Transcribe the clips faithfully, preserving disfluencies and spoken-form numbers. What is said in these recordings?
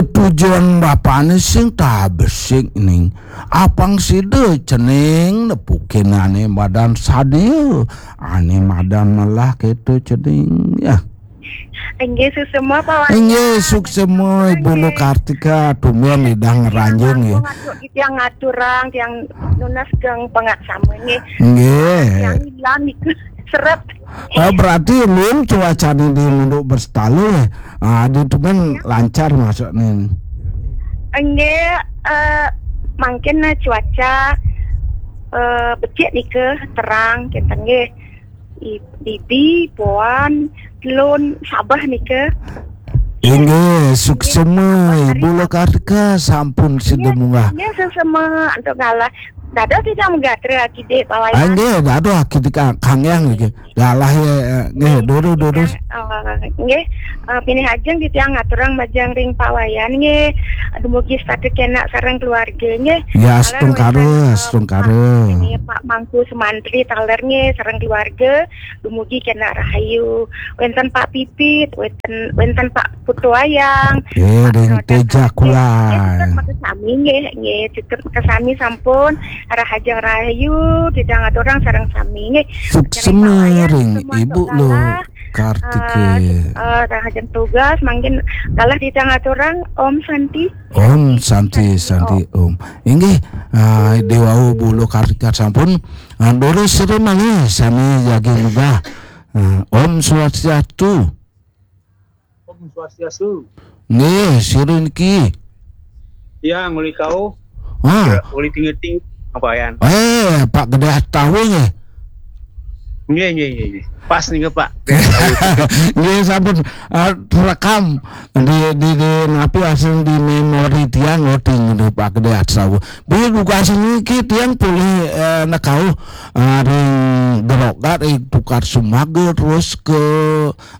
Tujuan bapakné sing tabesik ning. Apang sida cening nepukin ané madan sadia, ané madan melah kéto cening. Ya. Inggih, suksma, Pak Wayan. Inggih, suksma, Ibu Lukartika, tumben lidah ngranjing, ya. Ngatur, tiang ngaturang, tiang nunas geng pangaksama, nggih. Nggih. Tiang ilang niku seret. Ah, berarti luung cuacané di Munduk Berstalu, ya. Ah, di tumben lancar masukné. Nggih, eh, mangkin, eh, cuaca, eh, becik nika, terang, kinten, nggih. I-, bibi, poan, telun, sabeh nika. Inggih, suksma, Ibu Lukartika, sampun sida munggah. Inggih, suksma, antuk galah. Dados tiang megatra akidik Pak Wayan. Ah, nggih, dados akidik ka-, kanggéang niki. Galah ya, eh, nggih, durus, durus. Eh, nggih, eh, pinih ajeng titiang ngaturang majeng ring Pak Wayan nggih. Dumugi setata kénak sareng keluarga nggih. Ya, taler astungkara, wénten, eh, astungkara. Pak, nggih, Pak Mangku Sumantri taler nggih sareng keluarga. Dumugi kénak rahayu. Wénten Pak Pipit, wénten, wénten Pak Putu Ayang. Nggih, Pak ring Roda Teja Kala. Kula. Nggih, cutet makasami nggih, nggih, cutet makasami sampun rahajeng rahayu, titiang ngaturang sareng sami nggih. Suksma ring Ibu Lukartika. Eh, eh, rahajeng tugas, mangkin galah titiang ngaturang Om Santi. Om Santi, Santi, Om. Inggih, ah, déwau Bu Lukartika sampun, ah, durus sira malih sami jagi munggah. Ah, Om Swastiastu. Om Swastiastu. Nggih, sira niki. Tiang uli kauh. Ah. Ya, uli tinggi-tinggi, Pak Wayan. Eh, Pak Gedé Astawa nggih. Nggih, nggih, nggih, nggih. Pas nika, Pak. Nggih, sampun, ah, terekam di, di, di napi asring di memori tiang, oh, tinggi Pak Gedé Astawa. Bilih dugas niki tiang polih, eh, nekauh, ah, ring Geroga, ring Tukad Sumaga, terus ke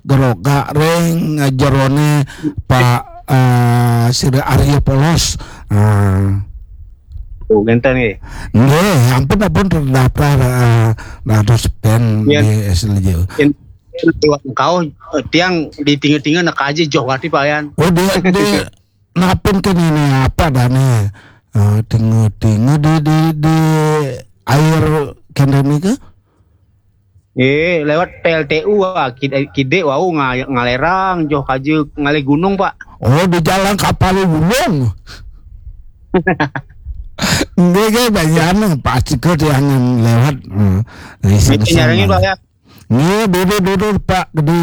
Geroga ring jeroné Pak, eh, sira Arya Polos. Ah. Oh, ngénten nggih. Nggih, ampun, ampun terdaftar, eh, dados band di S L J. Yén, yén liwat engkau, eh, tiang di tinggi-tinggi nak aja joh gati Pak Yan. Oh, di, di napin ke nini apa dané? Eh, tinggi-tinggi di, di, di air kéné nika? Nggih, lewat P L T U, ah, kid-, kidik wau nga-, ngalerang, joh kaja ngalih gunung, Pak. Oh, di jalan kapal gunung. Nggih, nggih, bayang pasti ke tiangan lewat. Hmm. Nggih, nyarengin, Pak, ya. Nggih, duduk, duduk, Pak Gedé.